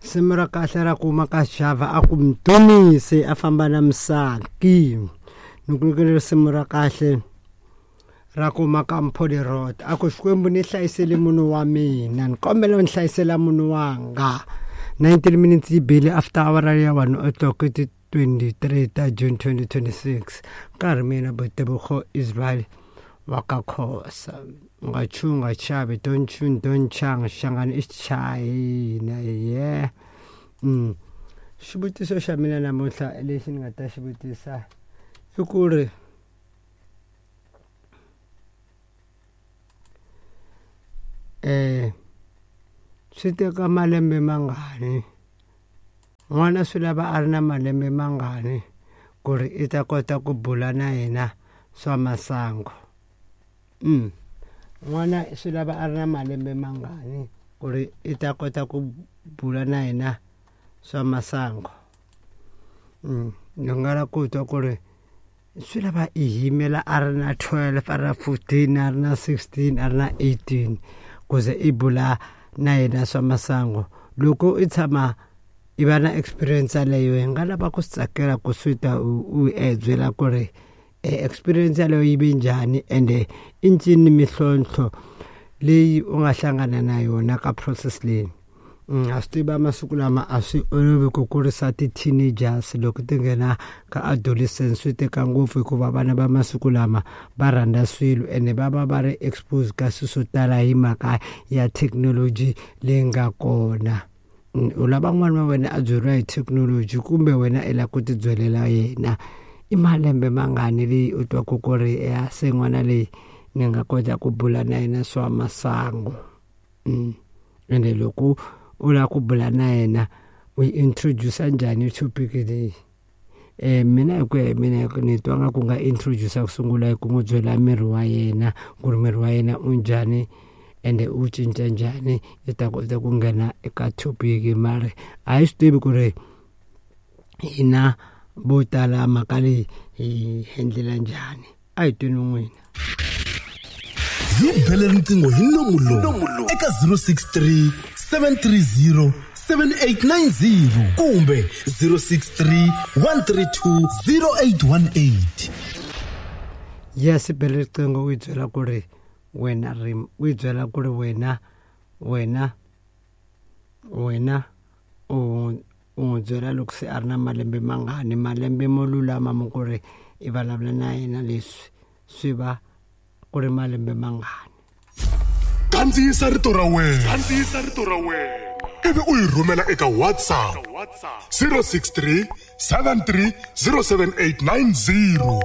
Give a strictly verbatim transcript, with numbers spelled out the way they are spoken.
Risimu ra kahle ra kuma ka Xava a ku Mdumise a famba na Msaki. Ni ku nyikela risimu ra kahle ra kuma ka Mpholerot a ku Xikwembu ni hlayisele munhu wa mina, ni kombela u ni hlayisela munhu wanga. nineteen minutes yi bile after hour ya one o'clock ti twenty-three ta June twenty twenty-six. Nkarhi mina Botebogo Israel wa ka Khosa. U nga chuhi, u nga chavi, don't tune, don't chang, Shangani i China, yeah. Mm. Xivutiso xa mina namuntlha lexi ni nga ta xi vutisa i ku ri eh swi teka malembe mangani n'wana swi lava a ri na malembe mangani ku ri i ta kota ku bula na yena swa masangu. Mm. N'wana swi lava a ri na malembe mangani ku ri i ta kota ku bula na yena swa masangu. Mm. Ni nga lava ku twa ku ri swi lava i yimela a ri na twelve, a ri na fourteen, a ri na sixteen, a ri na eighteen ku ze i bula na yena swa masangu. Loko i tshama i va na experience yaleyo, hi nga lava ku swi tsakela ku swi ta u u e byela ku ri experience yaleyo yi ve njhani ende i ncini mintlhontlho leyi u nga hlangana na yona ka process leyi. A swi tiva masiku lama a swi olovi ku kurisa ti-teenagers loko ti nghena ka adolescence, swi teka ngopfu hikuva vana va masiku lama va rhandza swilo ene va va va ri exposed ka swilo swo tala hi mhaka ya thekinoloji leyi nga kona. U lava n'wana wa wena a byeriwa hi thekinoloji kumbe wena i lava ku ti byelela yena. I malembe mangani leyi u twaku ku ri ya se n'wana leyi ni nga kota ku bula na yena swa masangu. Mm. Ende loko u lava ku bula na yena u yi introduce njhani topic leyi? Eh mina hi ku ya hi mina ni twa nga ku nga introduce ku sungula hi ku n'wi byela miri wa yena ku ri miri wa yena u njhani ende u cinca njhani, i ta kota ku nghena eka topic. Mara a hi swi tivi ku ri hina vo tala mhaka leyi hi endlela njhani. A hi tweni n'wina. Hi bele riqingho hi nomu lowu eka zero six three seven three zero seven eight nine zero kumbe zero six three one three two zero eight one eight. Yes, bele riqingho u yi byela ku ri wena ri u yi byela ku ri wena wena wena u u n'wi byela loko se a ri na malembe mangani, malembe mo lulama mo ku ri i vulavula na yena leswi swi va ku ri malembe mangani. Kandziyisa rito ra wena, kandziyisa rito ra wena ivi u yi rhumela eka WhatsApp zero six three seven three zero seven eight nine zero.